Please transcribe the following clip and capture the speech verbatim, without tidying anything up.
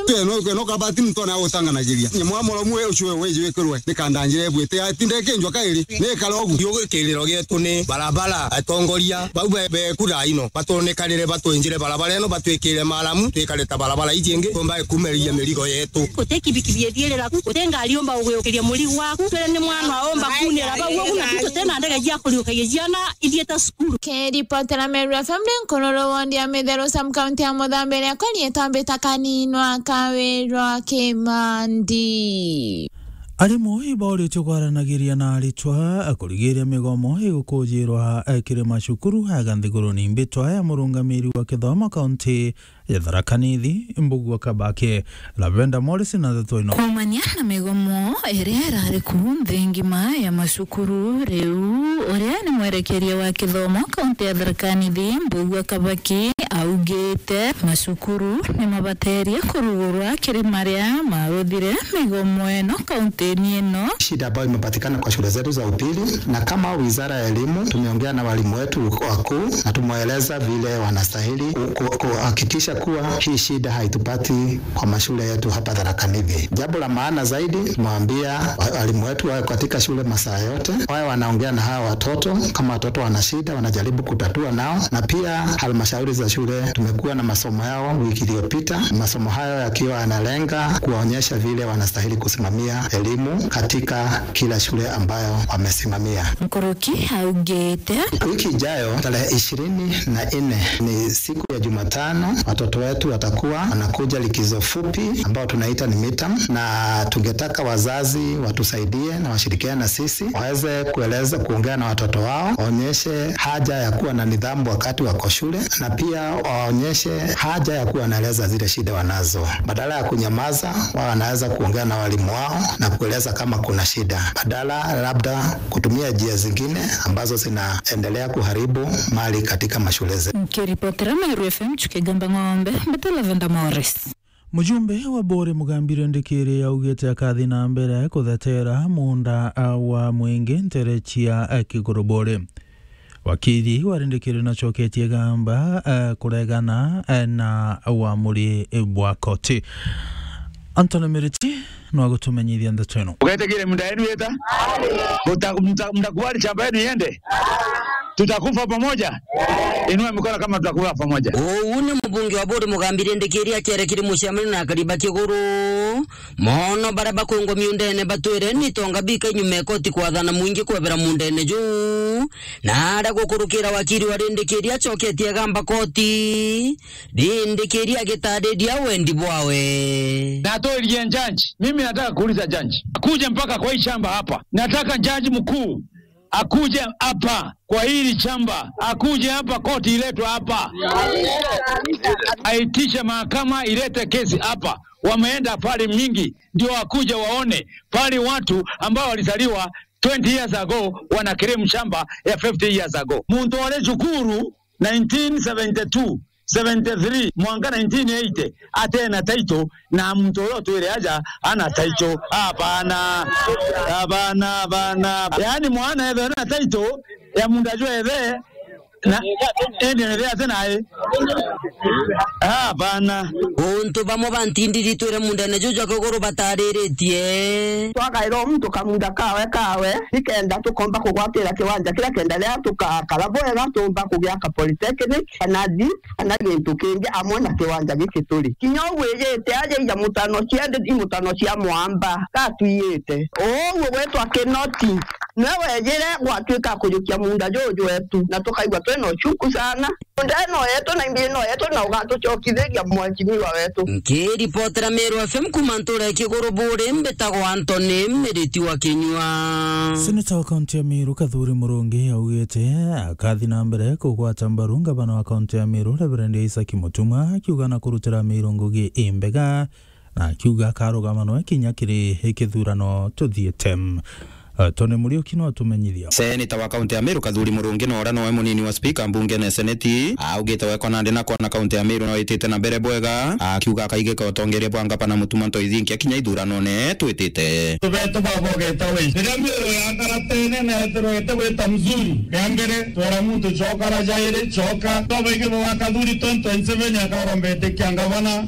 Tweno, tweno kabati muntu ona gutanganagiria. Ni mwa moromu we ucio we wiji wikirwe. Ni kanda njira ibwite. Atinde kinjwa kairi. Ni kara ugu. Yo kiriro gietu ni barabara, atongoria. Bau be, be kura ino. Batunikarire, batwinjire barabara ino, batwikire maramu, twikare ta barabara iji ingi. Tumba kumeriria mirigo yetu. Guti kibikibi ithiirira ku, guti ngari umba gugiukiria murigo waku. Twire ni mwana umba kunira bau ugu, na tuti na ndege cia kuriukagia ciana ithiite cukuru. Kiripotera Meru F M ndi Nkururu wondi ya Mitheru sub county ya Muthambi, riakwa riitwa Mbita Kaninwa Kawirwa Kimandi. Arimu ibauritie kwaranagiria na aritwa kurigiria migomo igukujirwa kiri macukuru aga nthiguruni. Mbitwa ya murungamiri wa kithomo kaunti ya Tharaka Nithi, Mbugua Kabake, Lavender Morris na ndeto ino. Kuumania na migomo iria irari ku nthi ngima ya macukuru, riu uria ni mwerekeria wa kithomo kaunti ya Tharaka Nithi, Mbugua Kabake, augite macukuru ni mabaterie kurugurwa kiri maria maruthire migomo ino kaunti-ini ino. Shida ambayo imepatikana kwa shule zetu za upili, na kama wizara ya elimu tumeongea na walimu wetu wakuu na tumewaeleza vile wanastahili ku-, ku-, kuhakikisha kuwa hii shida haitupati kwa mashule yetu hapa Tharaka Nithi. Jambo la maana zaidi, tumewaambia wa-, walimu wetu wawe katika shule masaa yote, wawe wanaongea na hawa watoto. Kama watoto wana shida, wanajaribu kutatua nao, na pia halmashauri za shule tumekuwa na masomo yao wiki iliyopita, masomo hayo yakiwa yanalenga kuwaonyesha vile wanastahili kusimamia elimu katika kila shule ambayo wamesimamia. Nkuruki augite. Wiki ijayo, tarehe ishirini na nne, ni siku ya Jumatano, watoto wetu watakuwa wanakuja likizo fupi ambao tunaita ni midterm, na tungetaka wazazi watusaidie na washirikiane na sisi, waweze kueleza, kuongea na watoto wao, waonyeshe haja ya kuwa na nidhamu wakati wako shule, na pia waonyeshe haja ya kuwa wanaeleza zile shida wanazo, badala ya kunyamaza. Wao wanaweza kuongea na walimu wao na kueleza kama kuna shida, badala labda kutumia njia zingine ambazo zinaendelea kuharibu mali katika mashule zetu. Nkiripotera Meru F M, Chuki Gamba Ng'ombe, Mbete Lavender Morris. Mujumbe wa Buri Mugambire Ndikiri augite akathi na mbere kuthetera munda, a, wa mwingi ntere cia, a, Kiguru Buri. Wakiri wa Rindikiri nacoketie gamba, eh, kuregana, eh, na uamuri bwa koti. Anthony Miriti no agutumenyithia ndeto ino. Ugetegire munda yenu yeta? Muta-, muta-, mtakubali shamba yenu iende? Tutakufa pamoja? Inua mikono kama tutakufa pamoja. Uu ni mubunge wa Buri Mugambire Ndikiri akiaria kiri muciamani na akari ba Kiguru. Mono baria bakwingwa miundene batwire ni tonga bika inyuma ya koti kwathana mwingi kwebera mundene juu. Na aria gukurukira wakiri wa Rindikiri acoketie gamba koti, Rindikiri agitariria wendi bwawe. Natolirie judge, mimi nataka kuuliza judge, akuje mpaka kwa hii shamba hapa. Nataka judge mkuu akuje hapa kwa hili shamba, akuje hapa, koti iletwe hapa, aitishe mahakama ilete kesi hapa. Wameenda pale mingi, ndio wakuje waone pale watu ambao walizaliwa twenty years ago wana claim shamba ya fifty years ago. Muntu ore cukuru nineteen seventy-two, seventy-three, mwanka nineteen eighty, atena title, na muntu uria utwire aja ana title. Hapana. Hapana, hapana. Yaani mwana ethe na title ya munda jwa ethe, na ende ethe ate nae. Hapana. Untu bamwe ba ntindiri twire mundene juju jwa Kiguru batariritie. Twagaira o muntu kamunda kawe kawe, nikenda tukomba kugwatira kiwanja kiria kenda riria tukakara bwega, tumba kugiaka polytechnic, kana jeep, kana gintu kingi amwe na kiwanja giki turi. Kinya uu wijite aja ija mutano cia ndi-, i mutano cia mwamba, gatwiyite. Uu gwitwa Kinoti, niwe wejire gwatuika kujukia munda juju wetu, na tukaigua twina uchuku sana. Munda ino yetu na imbi ino yetu, na ugatucokithiria mwanjimiwa wetu. Nkiripotera Meru F M kuma ntura ya Kiguru Buri, mbitagwa Anthony Miriti wa Kinyua. Seneta wa kaunti ya Meru Kathuri Murungi augite akathi na mbere kugwata mbaru ngavana wa kaunti ya Meru Reverend Isaac Mutuma, akiuga na kurutira Meru ngugi imbega, na akiuga akarugama noe kinya kiri kithurano tuthiite. Eh, Tony Muriuki no atumenyithia. Seneta wa kaunti ya Meru Kathuri Murungi na uria noe munini wa spika mbungene seneti augite wekwa nandi na kwona kaunti ya Meru no itite na mbere bwega, akiuga akaigika utongeria bwa ngavana Mutuma Ntoithinkia kinya ithuranone twitite. Tubetu baba ugeta wi. Riria Meru yakara tene na ethirwa ite gwita mzuri, ria mbere twera muntu cokara, jairi coka. Twabaige bwa Kathuri twenty twenty-seven akaromba itikia ngavana.